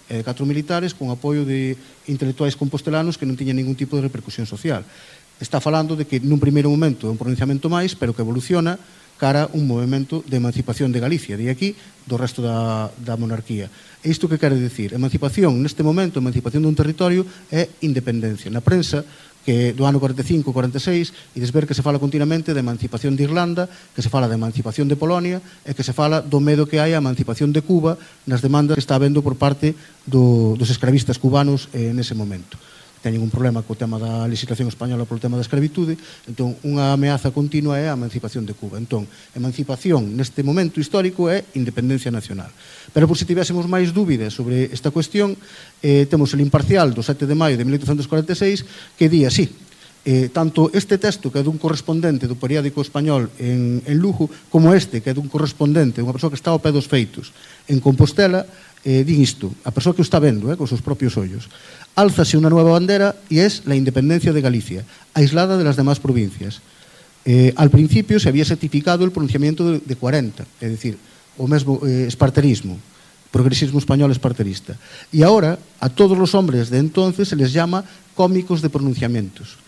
e de 4 militares con apoio de intelectuais compostelanos que non tiñan ningún tipo de repercusión social. Está falando de que nun primeiro momento é un pronunciamento máis, pero que evoluciona cara a un movimento de emancipación de Galicia, de aquí do resto da monarquía. E isto que quere dicir? Emancipación, neste momento, emancipación dun territorio é independencia. Na prensa, que do ano 45-46, ides ver que se fala continuamente de emancipación de Irlanda, que se fala de emancipación de Polonia, e que se fala do medo que hai a emancipación de Cuba nas demandas que está habendo por parte dos escravistas cubanos nese momento. Teñen un problema co tema da legislación española polo tema da escravitude, entón unha ameaza continua é a emancipación de Cuba. Entón, emancipación neste momento histórico é independencia nacional. Pero por se tivésemos máis dúbidas sobre esta cuestión, temos el Imparcial do 7 de maio de 1846 que di así: tanto este texto que é dun correspondente do periódico español en Lugo, como este que é dun correspondente, unha persoa que está ao pé dos feitos en Compostela, din isto, a persoa que o está vendo con seus propios ollos: álzase unha nueva bandera e es la independencia de Galicia, aislada de las demás provincias. Al principio se había certificado el pronunciamiento de 40, é dicir, o mesmo esparterismo, progresismo español esparterista. E ahora a todos los hombres de entonces se les llama cómicos de pronunciamientos.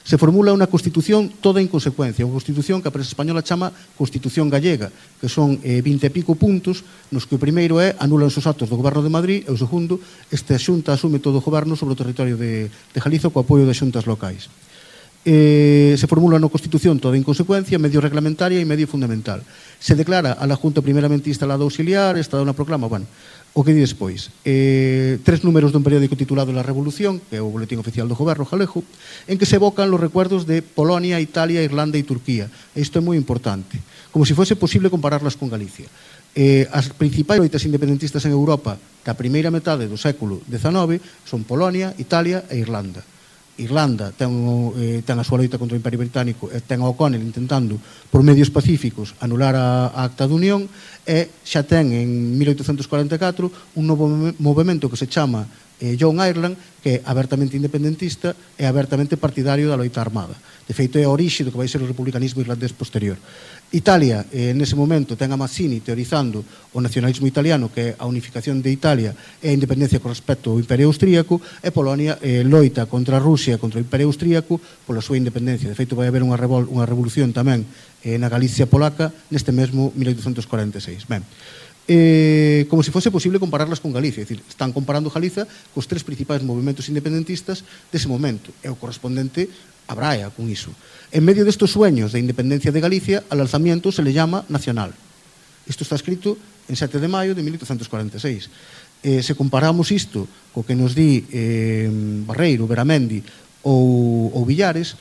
Se formula unha constitución toda en consecuencia, unha constitución que a prensa española chama Constitución Gallega, que son 20 e pico puntos, nos que o primeiro é anulan os actos do Goberno de Madrid e o segundo, esta xunta asume todo o goberno sobre o territorio de Galicia co apoio das xuntas locais. Se formula unha constitución toda en consecuencia, medio reglamentaria e medio fundamental. Se declara a la Junta primeramente instalada auxiliar, esta dá unha proclama, bueno, o que di despois? 3 números dun periódico titulado La Revolución, que é o boletín oficial do goberno galego, en que se evocan los recuerdos de Polonia, Italia, Irlanda e Turquía. Isto é moi importante, como se fose posible compararlas con Galicia. As principais loitas independentistas en Europa da primeira metade do século XIX son Polonia, Italia e Irlanda. Irlanda ten a súa loita contra o Imperio Británico e ten a O'Connell intentando por medios pacíficos anular a Acta de Unión, e xa ten en 1844 un novo movimento que se chama Young Ireland, que é abertamente independentista e abertamente partidario da loita armada. De feito, é a orixe do que vai ser o republicanismo irlandés posterior. Italia, nese momento, ten a Mazzini teorizando o nacionalismo italiano, que é a unificación de Italia e a independencia con respecto ao Imperio Austríaco, e Polonia loita contra a Rusia, contra o Imperio Austríaco, pola súa independencia. De feito, vai haber unha revolución tamén na Galicia polaca neste mesmo 1846. Ben, como se fose posible compararlas con Galicia, é dicir, están comparando Galiza cos 3 principais movimentos independentistas dese momento, e o correspondente abraia con iso. En medio destes sueños de independencia de Galicia, al alzamiento se le llama nacional. Isto está escrito en 7 de maio de 1846. Se comparamos isto co que nos di Barreiro, Beramendi ou Villares,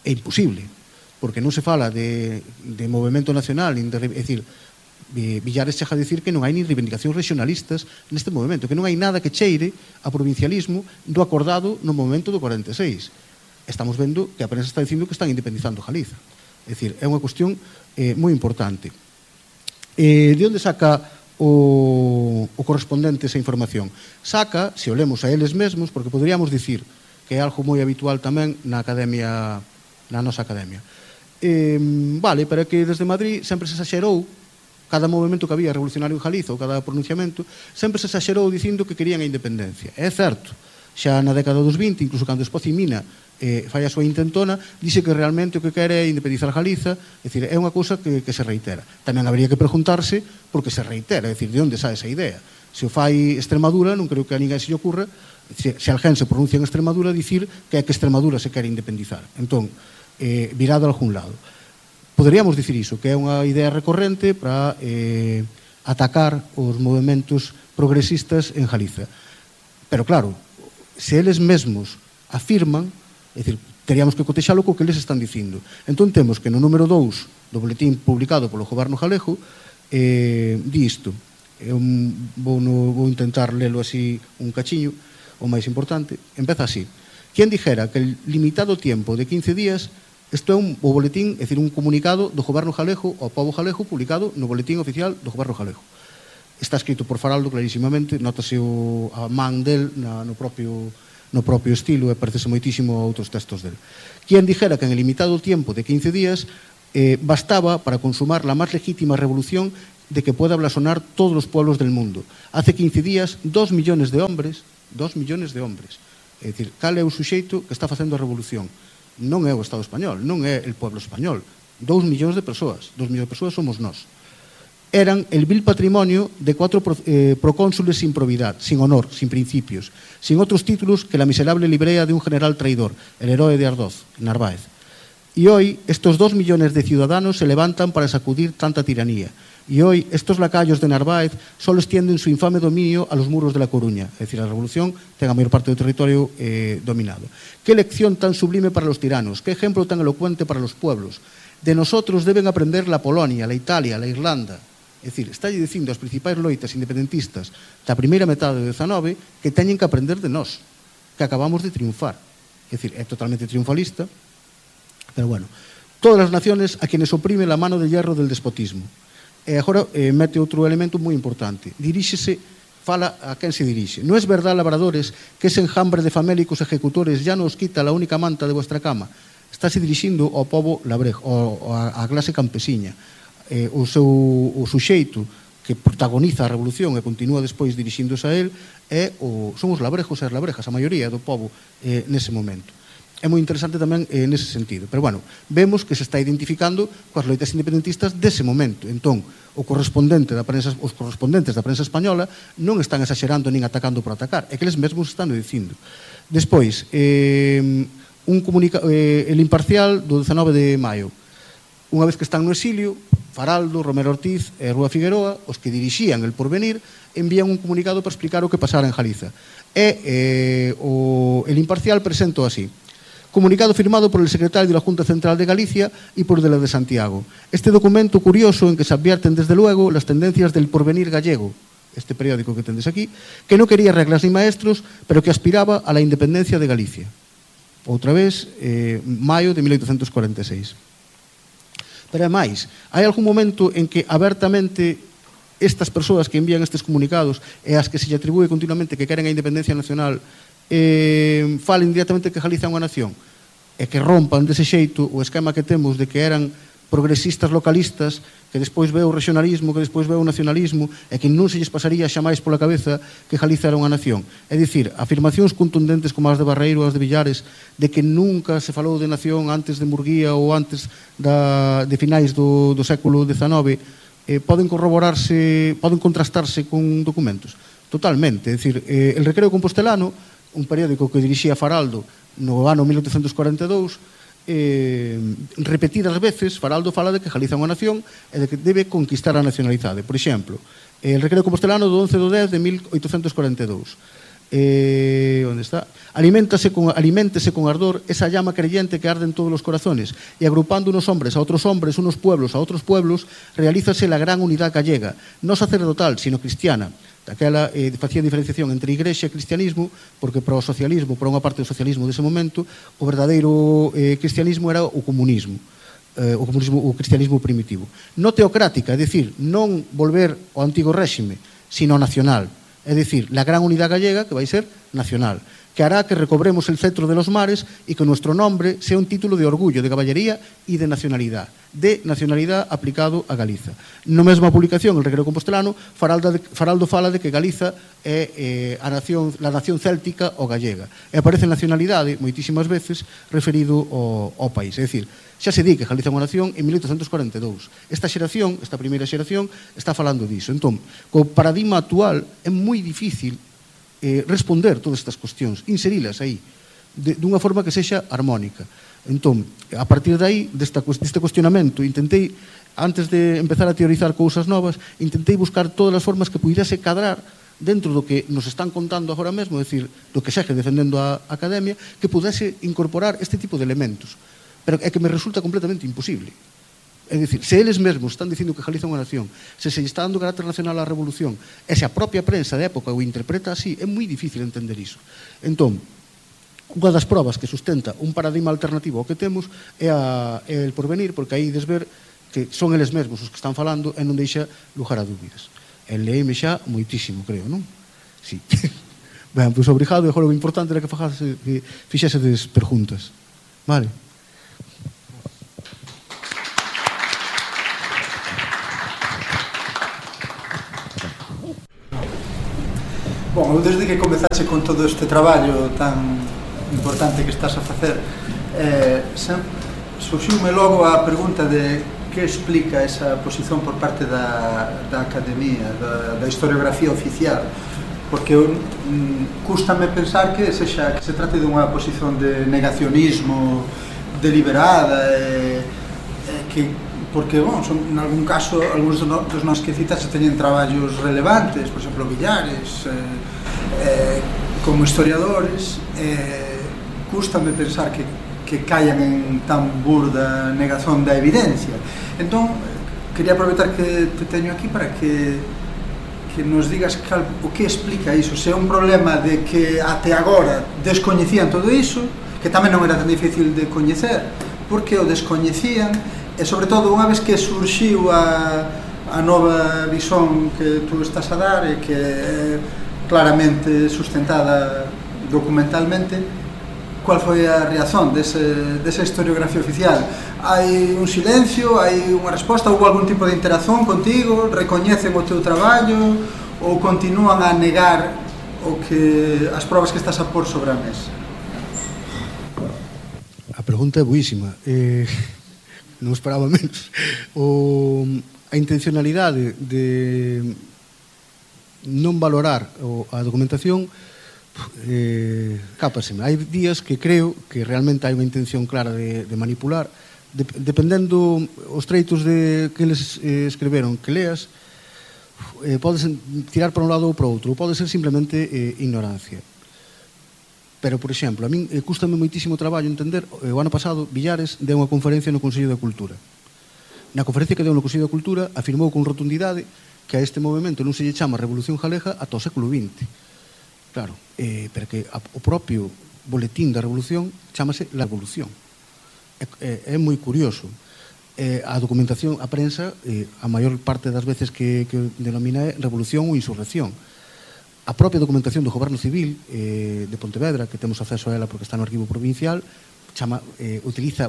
é imposible, porque non se fala de movimento nacional, é dicir, Villares chega a dicir que non hai ni reivindicacións regionalistas neste movimento, que non hai nada que cheire a provincialismo do acordado no momento do 46. Estamos vendo que a prensa está dicindo que están independizando Galiza. É dicir, é unha cuestión moi importante. De onde saca o correspondente esa información? Saca, se o lemos a eles mesmos, porque poderíamos dicir que é algo moi habitual tamén na academia, na nosa academia. Vale, pero que desde Madrid sempre se exagerou, cada movimento que había revolucionario en Galiza ou cada pronunciamento, sempre se exagerou dicindo que querían a independencia. É certo, xa na década dos 20, incluso cando Espoz y Mina fai a súa intentona, dice que realmente o que quere é independizar Galiza, é dicir, é unha cousa que se reitera. Tamén habería que preguntarse por que se reitera, é dicir, de onde sae esa idea. Se o fai Extremadura, non creo que a ninguén se lle ocurra, se alguén se pronuncia en Extremadura, dicir que é que Extremadura se quere independizar. Entón, virado a algún lado. Poderíamos dicir iso, que é unha idea recorrente para atacar os movimentos progresistas en Galiza. Pero claro, se eles mesmos afirman, é dicir, teríamos que cotexalo co que eles están dicindo. Entón temos que no número 2 do boletín publicado polo goberno galego di isto. Eu vou intentar lelo así un cachiño, o máis importante. Empeza así: quen dijera que el limitado tiempo de 15 días, isto é o boletín, é dicir, un comunicado do goberno galego ao pobo galego publicado no boletín oficial do goberno galego. Está escrito por Faraldo clarísimamente, notase a man del no propio estilo, e parecese moitísimo a outros textos del. Quien dijera que en el limitado tiempo de 15 días bastaba para consumar la más legítima revolución de que pueda blasonar todos los pueblos del mundo. Hace 15 días, 2 millones de hombres, é dicir, cal é o suxeito que está facendo a revolución? Non é o Estado español, non é el pueblo español. 2 millóns de persoas somos nós. Eran el vil patrimonio de 4 procónsules sin probidad, sin honor, sin principios, sin otros títulos que la miserable librea de un general traidor, el héroe de Ardoz, Narváez. Y hoy estos 2 millones de ciudadanos se levantan para sacudir tanta tiranía. Y hoy estos lacayos de Narváez solo extienden su infame dominio a los muros de La Coruña. Es decir, la revolución ten a mayor parte del territorio dominado. Qué lección tan sublime para los tiranos, qué ejemplo tan elocuente para los pueblos. De nosotros deben aprender la Polonia, la Italia, la Irlanda. É dicir, está dicindo aos principais loitas independentistas da primeira metade do XIX que teñen que aprender de nós, que acabamos de triunfar. É dicir, é totalmente triunfalista, pero bueno. Todas as naciones a quienes oprime la mano de hierro del despotismo. E agora mete outro elemento moi importante. Diríxese, fala a quen se dirixe. No es verdad, labradores, que ese enjambre de famélicos ejecutores ya nos quita la única manta de vuestra cama. Estáse dirixindo ao povo labrejo, á clase campesiña. O suxeito que protagoniza a revolución e continúa despois dirixíndose a él son os labrejos e as labrejas, a maioría do povo nese momento. É moi interesante tamén nese sentido. Pero, bueno, vemos que se está identificando coas loitas independentistas dese momento. Entón, os correspondentes da prensa española non están exagerando nin atacando por atacar. É que eles mesmos están dicindo. Despois, el Imparcial do 19 de maio. Unha vez que están no exilio, Faraldo, Romero Ortiz e Rúa Figueroa, os que dirixían el Porvenir, envían un comunicado para explicar o que pasara en Galiza. El Imparcial presentó así: comunicado firmado por el secretario de la Junta Central de Galicia y por el de Santiago. Este documento curioso en que se advierten desde luego las tendencias del Porvenir gallego, este periódico que tendes aquí, que no quería reglas ni maestros, pero que aspiraba a la independencia de Galicia. Outra vez, maio de 1846. Pero ademais, hai algún momento en que abertamente estas persoas que envían estes comunicados e as que se lle atribúe continuamente que queren a independencia nacional falen directamente que Galiza é unha nación e que rompan dese xeito o esquema que temos de que eran progresistas localistas, que despois veo o regionalismo, que despois veo o nacionalismo e que non se lles pasaría xamais pola cabeza que Galiza era unha nación. É dicir, afirmacións contundentes como as de Barreiro, as de Villares, de que nunca se falou de nación antes de Murguía ou antes de finais do século XIX, poden corroborarse, poden contrastarse con documentos. Totalmente. É dicir, el Recreo Compostelano, un periódico que dirixía Faraldo no ano 1842, repetidas veces Faraldo fala de que Galiza é unha nación e de que debe conquistar a nacionalidade. Por exemplo, el Recreo Compostelano do 11 de 10 de 1842. Onde está? Aliméntese con ardor esa llama creyente que arde en todos los corazones y agrupando unos hombres a otros hombres, unos pueblos a otros pueblos, realízase la gran unidad gallega, no sacerdotal, sino cristiana. Daquela facía diferenciación entre igrexa e cristianismo, porque para o socialismo, para unha parte do socialismo dese momento, o verdadeiro cristianismo era o comunismo, o cristianismo primitivo. No teocrática, é dicir, non volver ao antigo réxime, sino nacional. É dicir, la gran unidad gallega que vai ser nacional, que hará que recobremos el cetro de los mares y que nuestro nombre sea un título de orgullo, de caballería y de nacionalidad aplicado a Galiza. No mesma publicación, el Recreo Compostelano, Faraldo fala de que Galiza é la nación céltica ou gallega. E aparece nacionalidade, moitísimas veces, referido ao país. É dicir, xa se di que Galiza é unha nación en 1842. Esta primeira xeración, está falando diso. Entón, co paradigma actual, é moi difícil responder todas estas cuestións, inserilas aí, dunha forma que sexa armónica. Entón, a partir de aí, deste cuestionamento, intentei, antes de empezar a teorizar cousas novas, intentei buscar todas as formas que pudese cadrar dentro do que nos están contando agora mesmo, é dicir, do que segue defendendo a academia, que pudese incorporar este tipo de elementos. Pero é que me resulta completamente imposible. É dicir, se eles mesmos están dicindo que Galiza é unha nación, se está dando carácter nacional á revolución, e se a propia prensa de época o interpreta así, é moi difícil entender iso. Entón, unha das probas que sustenta un paradigma alternativo ao que temos é el Porvenir, porque aí desver que son eles mesmos os que están falando e non deixa lugar a dúbidas. E leime xa moitísimo, creo, non? Sí. Ben, pois obrigado, e agora o importante era que fixesedes perguntas. Vale? Bon, eu desde que comezaxe con todo este traballo tan importante que estás a facer, surxiume logo a pregunta de que explica esa posición por parte da Academia, da historiografía oficial, porque cústame pensar que se trate dunha posición de negacionismo deliberada, porque, son, en algún caso, algúns dos nos que citas teñen traballos relevantes, por exemplo, Villares, como historiadores, cústame pensar que caian en tan burda negación da evidencia. Entón, quería aproveitar que te teño aquí para que nos digas o que explica iso, se é un problema de que até agora descoñecían todo iso, que tamén non era tan difícil de coñecer, porque o descoñecían, e sobre todo unha vez que surxiu a nova visón que tú estás a dar e que é claramente sustentada documentalmente, cual foi a reacción desa historiografía oficial? Hai un silencio, hai unha resposta, houve algún tipo de interacción contigo, recoñecen o teu traballo ou continúan a negar as probas que estás a pôr sobre a mesa? A pregunta é buísima, non esperaba menos. A intencionalidade de non valorar a documentación cápaseme. Hai días que creo que realmente hai unha intención clara de manipular, dependendo os treitos que eles escreveron que leas, podes tirar para un lado ou para outro, ou pode ser simplemente ignorancia. Pero, por exemplo, a min cústame moitísimo traballo entender, o ano pasado Villares deu unha conferencia no Consello da Cultura. Na conferencia que deu no Consello da Cultura afirmou con rotundidade que a este movimento non se lle chama Revolución Galega ata o século XX. Claro, pero que o propio boletín da Revolución chamase La Revolución. É moi curioso. A documentación, a prensa, a maior parte das veces que denomina é Revolución ou Insurrección. A propia documentación do Goberno Civil de Pontevedra, que temos acceso a ela porque está no arquivo provincial, utiliza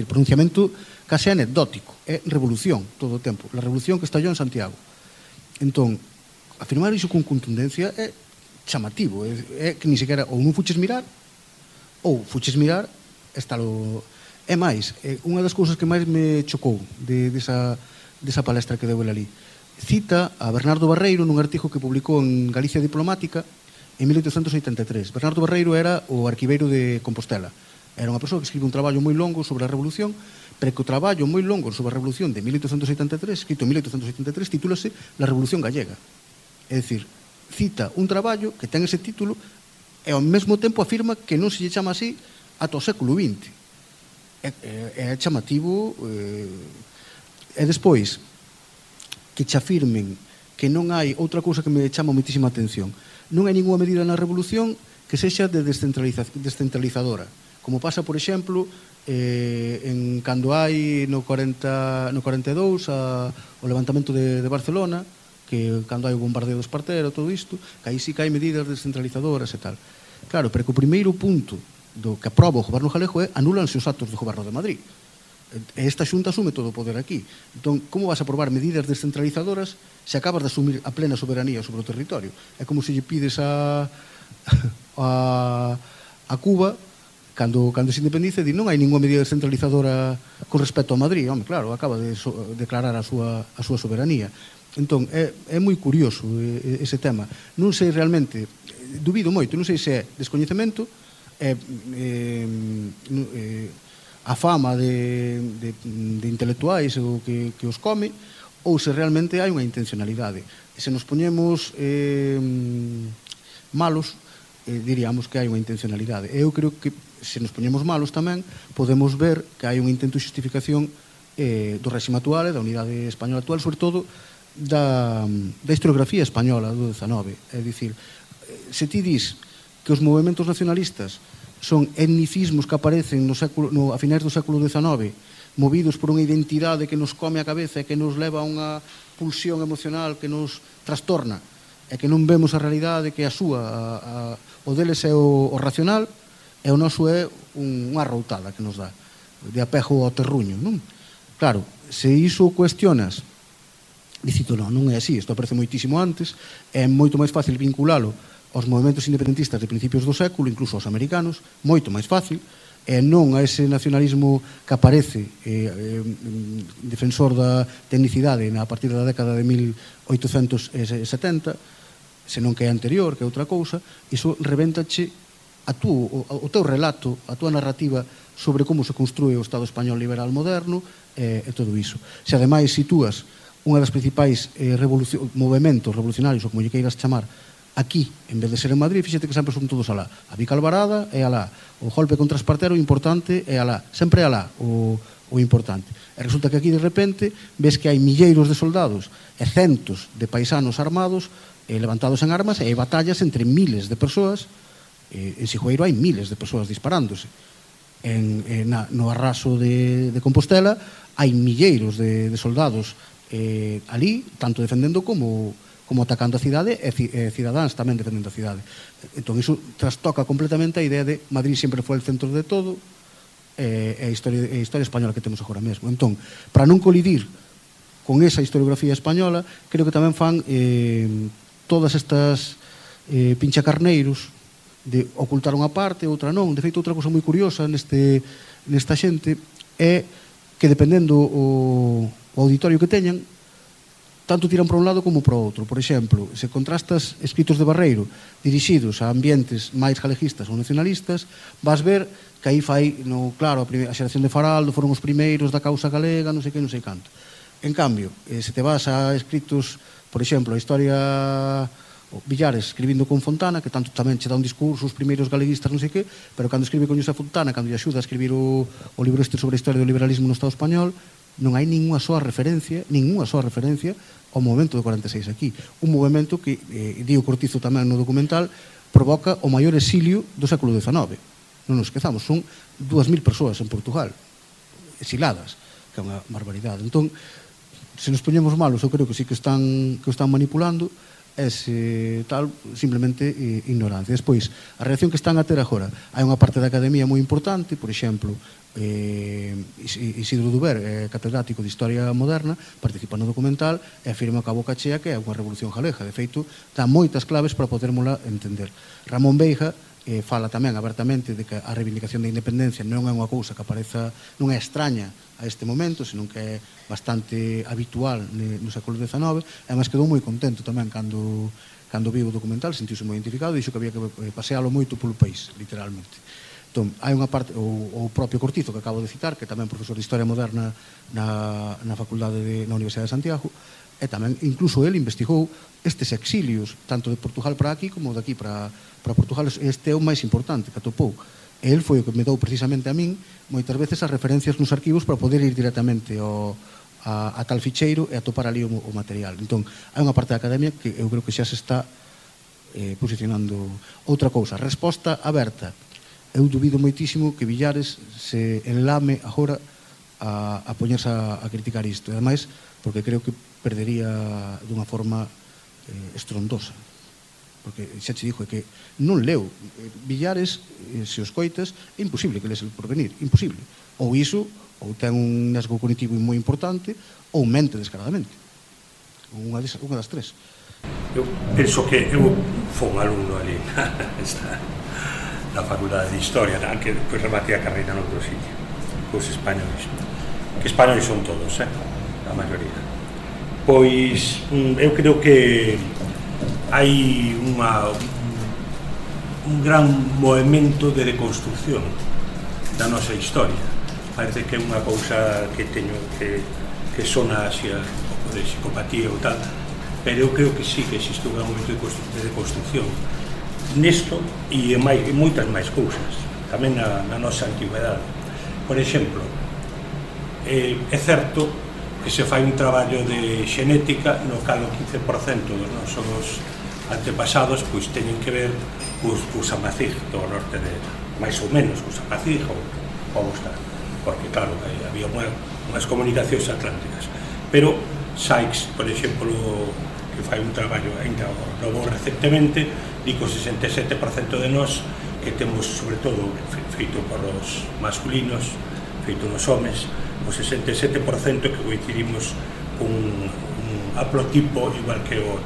pronunciamento case anecdótico. É Revolución todo o tempo. La Revolución que estallou en Santiago. Entón, afirmar iso con contundencia é chamativo, é que ni sequera ou non fuches mirar ou fuches mirar é máis, unha das cousas que máis me chocou desa palestra que deu ali, cita a Bernardo Barreiro nun artigo que publicou en Galicia Diplomática en 1883. Bernardo Barreiro era o arquiveiro de Compostela, era unha persoa que escribe un traballo moi longo sobre a Revolución, pero que o traballo moi longo sobre a Revolución de 1883, escrito en 1883, titúlase La Revolución Gallega. É dicir, cita un traballo que ten ese título e ao mesmo tempo afirma que non se lle chama así ata o século XX. É chamativo. E despois que che afirmen que non hai outra cousa que me chama moitísima atención, non hai ninguna medida na Revolución que sexa de descentralizadora, como pasa, por exemplo, cando hai no 42 o levantamento de Barcelona, que cando hai o bombardeo do Espartero, todo isto, que aí sí que hai medidas descentralizadoras e tal. Claro, pero que o primeiro punto do que aproba o goberno galego é anúlanse os actos do goberno de Madrid. E esta xunta asume todo o poder aquí. Entón, como vas a aprobar medidas descentralizadoras se acabas de asumir a plena soberanía sobre o territorio? É como se lle pides a Cuba, cando se independice, di non hai ninguna medida descentralizadora con respecto a Madrid. Home, claro, acaba de declarar a súa soberanía. Entón, é moi curioso ese tema. Non sei realmente, dubido moito, non sei se é descoñecemento, a fama de intelectuais ou que os come, ou se realmente hai unha intencionalidade. Se nos poñemos malos, diríamos que hai unha intencionalidade. Eu creo que se nos poñemos malos tamén podemos ver que hai un intento de justificación do réxime actual e da unidade española actual, sobre todo da historiografía española do XIX. É dicir, se ti dis que os movementos nacionalistas son etnicismos que aparecen a finais do século XIX, movidos por unha identidade que nos come a cabeza e que nos leva a unha pulsión emocional que nos trastorna e que non vemos a realidade que a súa, o deles é o racional e o noso é unha arroutada que nos dá de apego ao terruño, non? Claro, se iso cuestionas, dicito, non é así, isto aparece moitísimo antes, é moito máis fácil vinculalo aos movementos independentistas de principios do século, incluso aos americanos, moito máis fácil, e non a ese nacionalismo que aparece defensor da tecnicidade a partir da década de 1870, senón que é anterior, que é outra cousa. Iso rebéntache o teu relato, a tua narrativa sobre como se construe o Estado español liberal moderno e todo iso. Se ademais situas unha das principais movementos revolucionarios, ou como lle queiras chamar, aquí, en vez de ser en Madrid, fíxate que sempre son todos alá. A Vica Alvarada é alá. O golpe contra Espartero, o importante, é alá. Sempre é alá o importante. E resulta que aquí, de repente, ves que hai milleiros de soldados e centos de paisanos armados levantados en armas, e hai batallas entre miles de persoas. En Sijueiro hai miles de persoas disparándose. No arraso de Compostela hai milleiros de soldados ali, tanto defendendo como atacando a cidade, e cidadáns tamén defendendo a cidade. Entón, iso trastoca completamente a idea de Madrid sempre foi o centro de todo, e a historia española que temos agora mesmo. Entón, para non colidir con esa historiografía española, creo que tamén fan todas estas pinchacarneiros de ocultar unha parte, outra non. De feito, outra cousa moi curiosa nesta xente é que, dependendo o auditorio que teñan, tanto tiran para un lado como para outro. Por exemplo, se contrastas escritos de Barreiro dirixidos a ambientes máis galeguistas ou nacionalistas, vas ver que aí fai, claro, a xeración de Faraldo foron os primeiros da causa galega, non sei que, non sei canto. En cambio, se te vas a escritos, por exemplo, a historia Villares escribindo con Fontana, que tanto tamén che dá un discurso os primeiros galeguistas, non sei que, pero cando escribe con José Fontana, cando lle axuda a escribir o libro este sobre a historia do liberalismo no Estado español, non hai ninguna soa referencia ao movimento do 46 aquí. Un movimento que, di o Cortizo tamén no documental, provoca o maior exilio do século XIX. Non nos esquezamos, son 2.000 persoas en Portugal, exiladas, que é unha barbaridade. Entón, se nos poñemos malos, eu creo que sí que o están manipulando, simplemente ignorancia. Despois, a reacción que están a ter agora, hai unha parte da academia moi importante, por exemplo, Isidro Duber, catedrático de Historia Moderna, participa no documental e afirma que a boca chea que é unha revolución galega. De feito, dá moitas claves para podermola entender. Ramón Beija fala tamén abertamente de que a reivindicación da independencia non é unha cousa que apareza, non é extraña a este momento, senón que é bastante habitual no século XIX, e además quedou moi contento tamén cando viu o documental, sentiuse moi identificado, e dixo que había que pasealo moito polo país, literalmente. Entón, hai unha parte, o propio Cortizo, que acabo de citar, que tamén é profesor de Historia Moderna na Facultade na Universidade de Santiago, e tamén, incluso, ele investigou estes exilios, tanto de Portugal para aquí, como de aquí para Portugal. Este é o máis importante que atopou. E ele foi o que me dou precisamente a min moitas veces as referencias nos arquivos para poder ir directamente a tal ficheiro e atopar ali o material. Entón, hai unha parte da academia que eu creo que xa se está posicionando. Outra cousa, resposta aberta. Eu dubido moitísimo que Villares se enlame agora a poñerse a criticar isto. E ademais, porque creo que perdería dunha forma estrondosa. Porque xa te dixo que non leu Villares, se os coitas, é imposible que lees El Porvenir, imposible. Ou iso, ou ten un nesgo cognitivo moi importante, ou mente descaradamente. Unha das tres. Eu penso que eu fui un alumno ali na Facultade de Historia, que depois rematei a carreira no outro sitio, cos españoles. Que españoles son todos, a maioría. Pois, eu creo que hai un gran movimento de reconstrucción da nosa historia. Parece que é unha cousa que teño que sona así un pouco de psicopatía ou tal, pero eu creo que sí que existe un gran momento de reconstrucción nesto e en moitas máis cousas, tamén na nosa antigüedade. Por exemplo, é certo que se fai un traballo de xenética no cal o 15% dos nosos antepasados pois teñen que ver cos amazigh do norte de, máis ou menos, cos amazigh ou como está, porque claro, había unhas comunicacións atlánticas, pero Sykes, por exemplo, que fai un traballo ainda novo recentemente, di que o 67% de nós que temos, sobre todo, feito por os masculinos, feito nos homes, o 67% que coincidimos cun haplotipo igual que o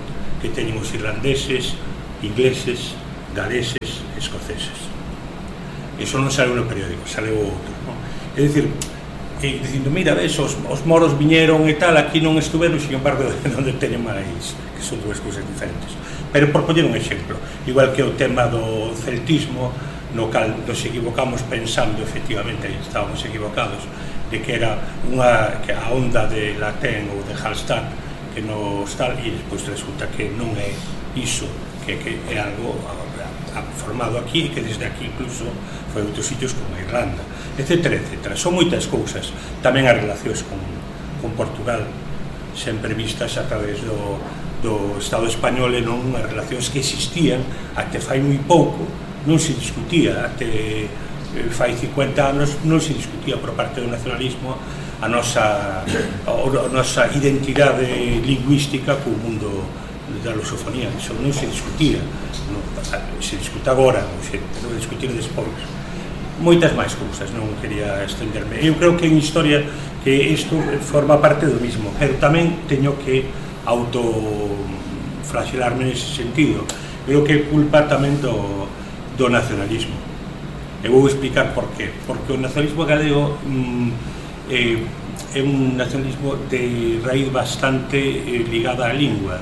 que teñen os irlandeses, ingleses, galeses, escoceses. Iso non saleu no periódico, saleu outro, non? É dicir, dicindo, mira, ves, os moros viñeron e tal, aquí non estuveron, sin embargo, onde teñen máis, que son dúas cousas diferentes. Pero por poñer un exemplo, igual que o tema do celtismo, no cal nos equivocamos pensando, efectivamente, estábamos equivocados, de que era que a onda de Latén ou de Hallstatt que nos tal, e despois resulta que non é iso, que é algo formado aquí e que desde aquí incluso foi a outros sitios como a Irlanda, etcétera, etcétera. Son moitas cousas. Tamén as relacións con Portugal, sempre vistas a través do Estado español e non as relacións que existían até fai moi pouco, non se discutía, até fai 50 anos non se discutía por parte do nacionalismo a nosa identidade lingüística co mundo da lusofonía. Iso non se discutía, se discute agora, ou se debe discutir despois. Moitas máis cousas, non quería estenderme. Eu creo que en historia que isto forma parte do mismo, pero tamén teño que autoflagelarme nese sentido. Creo que é culpa tamén do nacionalismo. E vou explicar por qué. Porque o nacionalismo galego é un nacionalismo de raíz bastante ligada á lingua,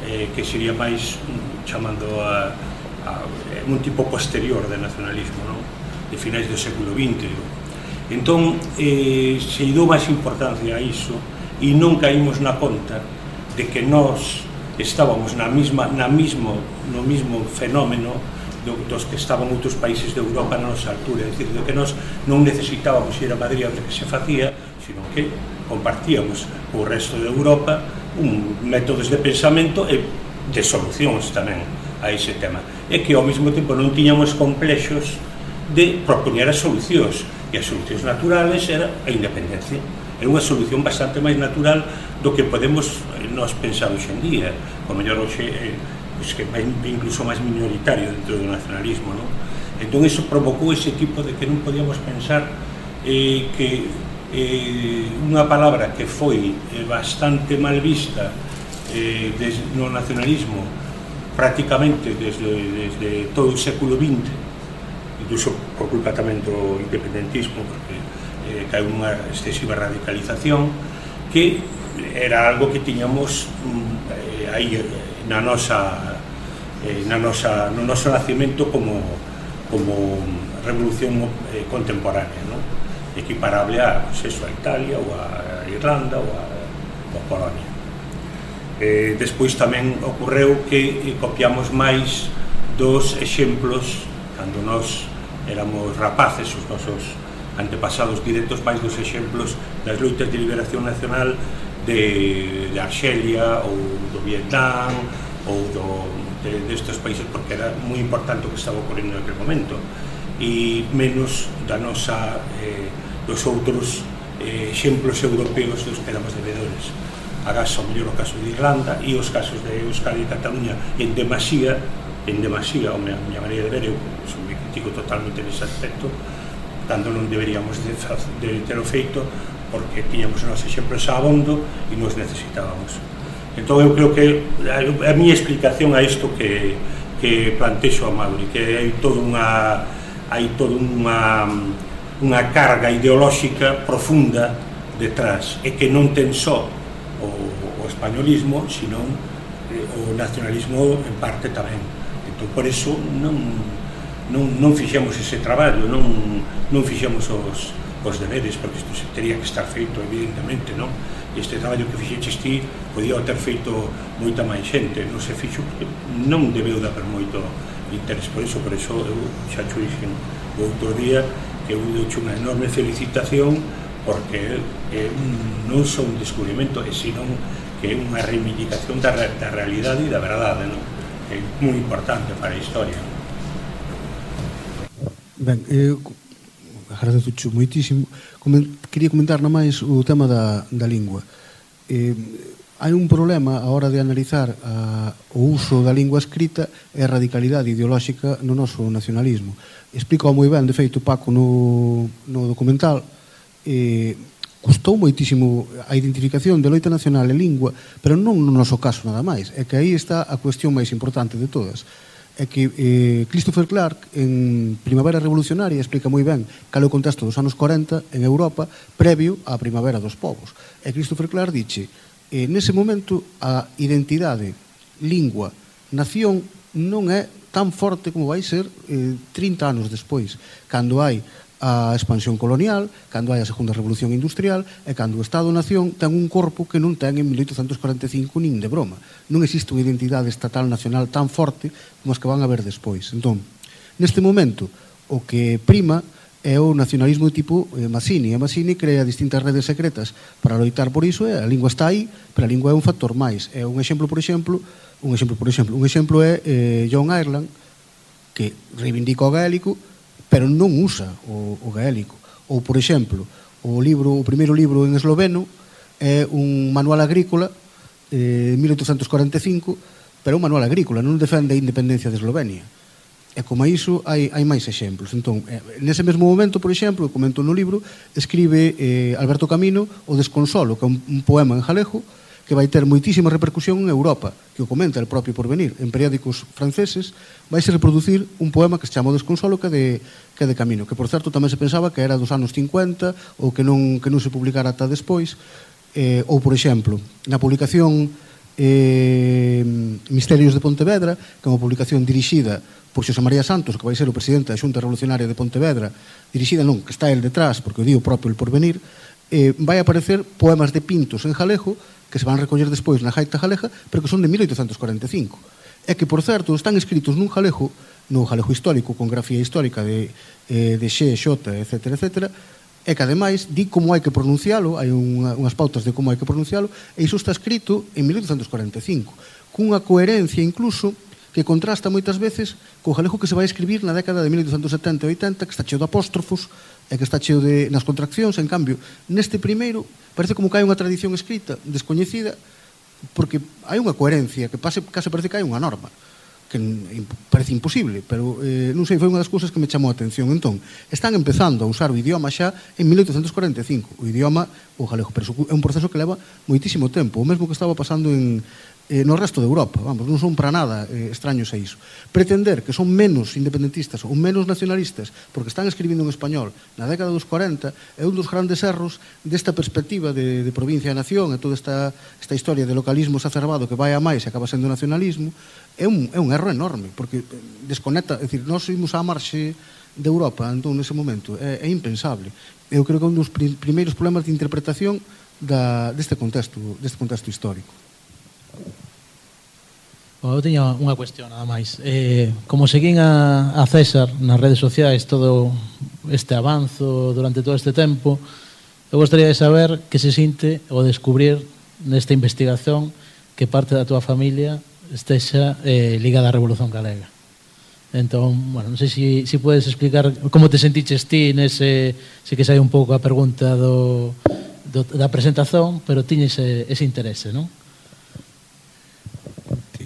que sería máis chamando a un tipo posterior de nacionalismo, non? De finais do século XX. Entón, se dou máis importancia a iso e non caímos na conta de que nós estábamos no mismo fenómeno dos que estaban outros países de Europa na nosa altura, é dicir, de que nós non necesitábamos ir a Madrid a ver que se facía, sino que compartíamos co resto de Europa métodos de pensamento e de solucións tamén a ese tema, e que ao mesmo tempo non tiñamos complexos de propoñer as solucións, e as solucións naturales era a independencia. Era unha solución bastante máis natural do que podemos nós pensar hoxe en día, o mellor hoxe que é incluso máis minoritario dentro do nacionalismo, non? Entón iso provocou ese tipo de que non podíamos pensar que unha palabra que foi bastante mal vista no nacionalismo prácticamente desde todo o século XX, incluso por culpa tamén do independentismo, porque caeu unha excesiva radicalización, que era algo que tiñamos aí no noso nacimento como revolución contemporánea, non? Equiparable a Italia ou a Irlanda ou a Polonia. Despois tamén ocorreu que copiamos máis dos exemplos cando nós éramos rapaces, os nosos antepasados directos, máis dos exemplos das loitas de liberación nacional de Arxelia ou do Vietnam ou destes países, porque era moi importante o que estaba ocorrendo naquele momento, e menos dos outros exemplos europeos dos que éramos devedores. Agás, ao mellor, o caso de Irlanda e os casos de Euskadi e Cataluña en demasía, a miña maneira de ver, eu me critico totalmente nese aspecto, cando non deberíamos de ter o feito, porque tiñamos os nosos exemplos a abondo e nos necesitábamos. Entón eu creo que a miña explicación a isto que plantexo a Mauri, que hai toda unha carga ideolóxica profunda detrás, e que non ten só o españolismo, sino o nacionalismo en parte tamén. Entón por eso non fixemos ese traballo, non fixemos os deberes, porque isto teria que estar feito, evidentemente, non? Este traballo que fixeches ti podía ter feito moita máis xente, non se fixo porque non debeu dar moito interés por eso eu xa xo dixen o outro día que eu deuche unha enorme felicitación, porque non só un descubrimento, senón que é unha reivindicación da realidade e da verdade, non? É moi importante para a historia. Ben, agradezo moitísimo. Quería comentar na máis o tema da lingua. Hai un problema a hora de analizar o uso da lingua escrita e a radicalidade ideolóxica no noso nacionalismo. Explica moi ben, de feito, Paco no documental, custou moitísimo a identificación de loita nacional e lingua, pero non no noso caso nada máis. É que aí está a cuestión máis importante de todas. É que Christopher Clark, en Primavera Revolucionaria, explica moi ben cal é o contexto dos anos 40 en Europa previo á Primavera dos Povos. E Christopher Clark dixe, nese momento a identidade, lingua, nación non é tan forte como vai ser 30 anos despois, cando hai a expansión colonial, cando hai a segunda revolución industrial e cando o Estado-nación ten un corpo que non ten en 1845 nin de broma. Non existe unha identidade estatal nacional tan forte como as que van a haber despois. Entón, neste momento, o que prima é o nacionalismo de tipo Mazzini. E Mazzini crea distintas redes secretas para loitar por iso, e a lingua está aí, pero a lingua é un factor máis. É un exemplo é John Ireland, que reivindica o gaélico, pero non usa o gaélico. Ou, por exemplo, o primeiro libro en esloveno é un manual agrícola, 1845, pero é un manual agrícola, non defende a independencia de Eslovenia. E como a iso hai máis exemplos. Entón, nese mesmo momento, por exemplo, comento no libro, escribe Alberto Camino o Desconsolo, que é un poema en galego que vai ter moitísima repercusión en Europa, que o comenta el propio Porvenir. En periódicos franceses vaise reproducir un poema que se chama O Desconsolo, que é de Camino, que, por certo, tamén se pensaba que era dos anos 50 ou que non se publicara ata despois. Ou, por exemplo, na publicación Misterios de Pontevedra, que é unha publicación dirixida por Xosé María Santos, que vai ser o presidente da Xunta Revolucionaria de Pontevedra, dirixida non, que está el detrás, porque o di o propio el Porvenir, vai aparecer poemas de Pintos en galego que se van recoller despois na Gaita Galega, pero que son de 1845. É que, por certo, están escritos nun galego, no galego histórico, con grafía histórica de Xe, Xota, etc., e que, ademais, di como hai que pronuncialo, hai unhas pautas de como hai que pronuncialo, e iso está escrito en 1845, cunha coherencia, incluso, que contrasta moitas veces co galego que se vai escribir na década de 1870 e 80, que está cheo de apóstrofos e que está cheo nas contraccións. En cambio, neste primeiro parece como que hai unha tradición escrita descoñecida, porque hai unha coherencia que case parece que hai unha norma que parece imposible, pero non sei, foi unha das cousas que me chamou a atención. Entón, están empezando a usar o idioma xa en 1845, o idioma o galego, pero é un proceso que leva moitísimo tempo, o mesmo que estaba pasando no resto de Europa. Vamos, non son para nada extraños a iso. Pretender que son menos independentistas ou menos nacionalistas porque están escribindo en español na década dos 40 é un dos grandes erros desta perspectiva de provincia e nación, e toda esta historia de localismo exacerbado que vai a máis e acaba sendo nacionalismo. É un erro enorme, porque desconecta, é dicir, nós imos á marxe de Europa, entón, nese momento, é impensable. Eu creo que é un dos primeiros problemas de interpretación deste contexto histórico. Eu tiña unha cuestión nada máis. Como seguín a César nas redes sociais todo este avanzo durante todo este tempo, eu gostaría de saber que se sinte o descubrir nesta investigación que parte da túa familia estexa ligada á Revolución Galega. Entón, bueno, non sei se podes explicar como te sentiches ti nese, se que sai un pouco a pregunta da presentación, pero tiñes ese interese, non?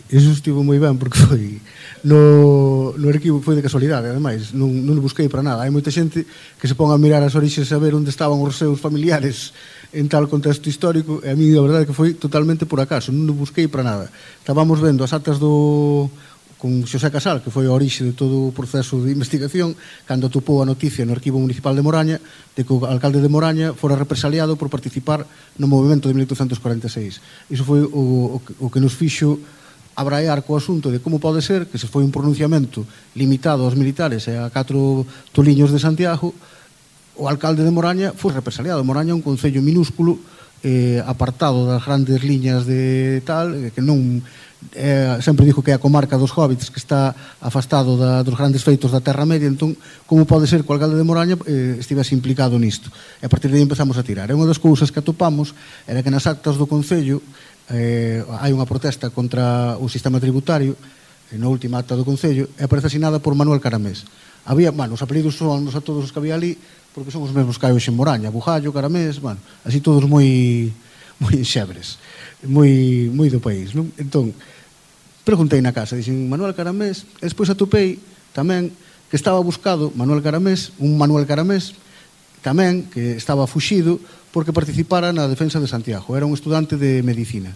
Iso estivo moi ben, porque foi no arquivo, foi de casualidade, ademais, non o busquei para nada. Hai moita xente que se pon a mirar as orixes a ver onde estaban os seus familiares en tal contexto histórico, e a mí a verdade que foi totalmente por acaso, non o busquei para nada. Estábamos vendo as actas con Xosé Casal, que foi a orixe de todo o proceso de investigación, cando atopou a noticia no Arquivo Municipal de Moraña de que o alcalde de Moraña fora represaliado por participar no movimento de 1846. Iso foi o que nos fixo abraiar co asunto de como pode ser que se foi un pronunciamento limitado aos militares e a 4 toliños de Santiago, o alcalde de Moraña foi represaliado. Moraña é un concello minúsculo, apartado das grandes liñas de tal, que non sempre dijo que é a comarca dos hobbits, que está afastado dos grandes feitos da Terra Media. Entón, como pode ser que o alcalde de Moraña estivese implicado nisto? E a partir de aí empezamos a tirar. E unha das cousas que atopamos era que nas actas do concello hai unha protesta contra o sistema tributario na última acta do Concello, e aparece asinada por Manuel Caramés. Había, os apelidos son a todos os que había ali, porque son os mesmos que hai hoxe en Moraña, Bujallo, Caramés, así todos moi xebres, moi do país, non? Entón, preguntei na casa, dixen Manuel Caramés, e despois atopei tamén que estaba buscado Manuel Caramés, un Manuel Caramés, tamén, que estaba fuxido porque participara na defensa de Santiago. Era un estudante de medicina.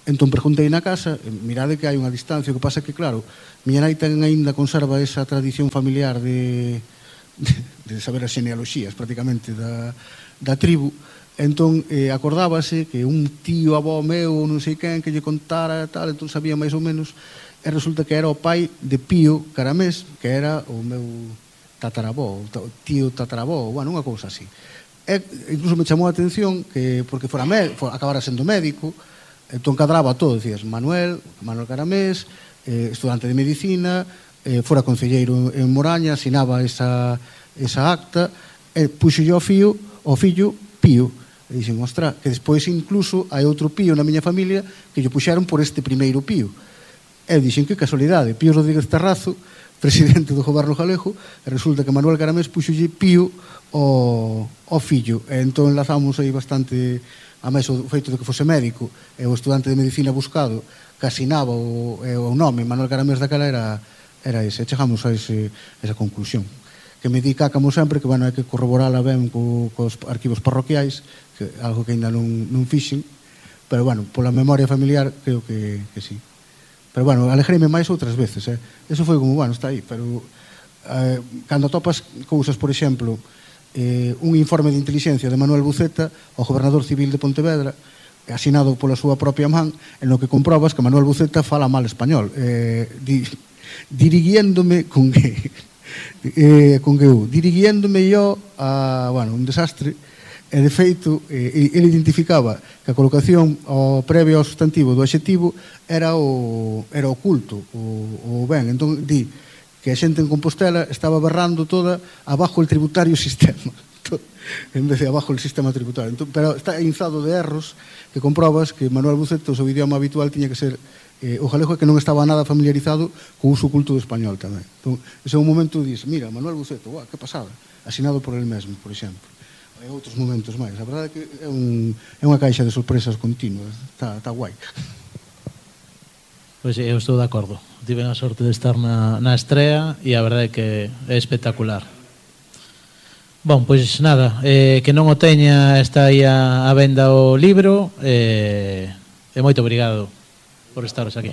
Entón preguntei na casa, mirade que hai unha distancia, o que pasa que, claro, miña nai ten aínda conserva esa tradición familiar de saber as genealoxías prácticamente da tribu. Entón acordábase que un tío avó meu non sei quen que lle contara tal, entón sabía máis ou menos, e resulta que era o pai de Pío Caramés, que era o meu tataravó, o tío tataravó, bueno, unha cousa así. E incluso me chamou a atención que porque acabara sendo médico, entón cadraba todo, decías Manuel Caramés, estudante de medicina, fora concelleiro en Moraña, asinaba esa acta, e puxolle ao fillo Pío. E dixen, ostra, que despois incluso hai outro Pío na miña familia que lle puxeron por este primeiro Pío. E dixen, que casualidade, Pío Rodríguez Tarrazo, presidente do goberno galego, e resulta que Manuel Caramés puxolle Pío ao fillo. E entón enlazamos aí bastante, a máis o feito de que fose médico, e o estudante de medicina buscado, que asinaba o nome Manuel Caramés daquela era ese. Chegamos a esa conclusión. Que me di como sempre, que, bueno, hai que corroborala ben cos arquivos parroquiais, que algo que ainda non fixen, pero, bueno, pola memoria familiar, creo que sí. Pero, bueno, alegreime máis outras veces, Eso foi como, bueno, está aí, pero cando topas cousas, por exemplo, un informe de inteligencia de Manuel Buceta, o gobernador civil de Pontevedra, asinado pola súa propia man, en lo que comprobas que Manuel Buceta fala mal español, dirigiéndome con dirigiéndome yo a, bueno, un desastre, e de feito ele identificaba que a colocación previo ao sustantivo do adxetivo era o culto, o ben. Entón di que a xente en Compostela estaba berrando toda abajo el tributario sistema, en vez de abajo el sistema tributario. Entón, pero está inzado de erros que comprobas que Manuel Buceta, o seu idioma habitual, tiña que ser o galego, que non estaba nada familiarizado co uso culto do español tamén. Entón, ese é un momento que dices, mira, Manuel Buceta, que pasada, asinado por el mesmo, por exemplo. E outros momentos máis. A verdade é que é unha caixa de sorpresas continuas. Está guai. Pois eu estou de acordo. Tive a sorte de estar na estrea e a verdade é que é espectacular. Bon, pois nada, que non o teña, está aí a venda o libro, e moito obrigado por estaros aquí.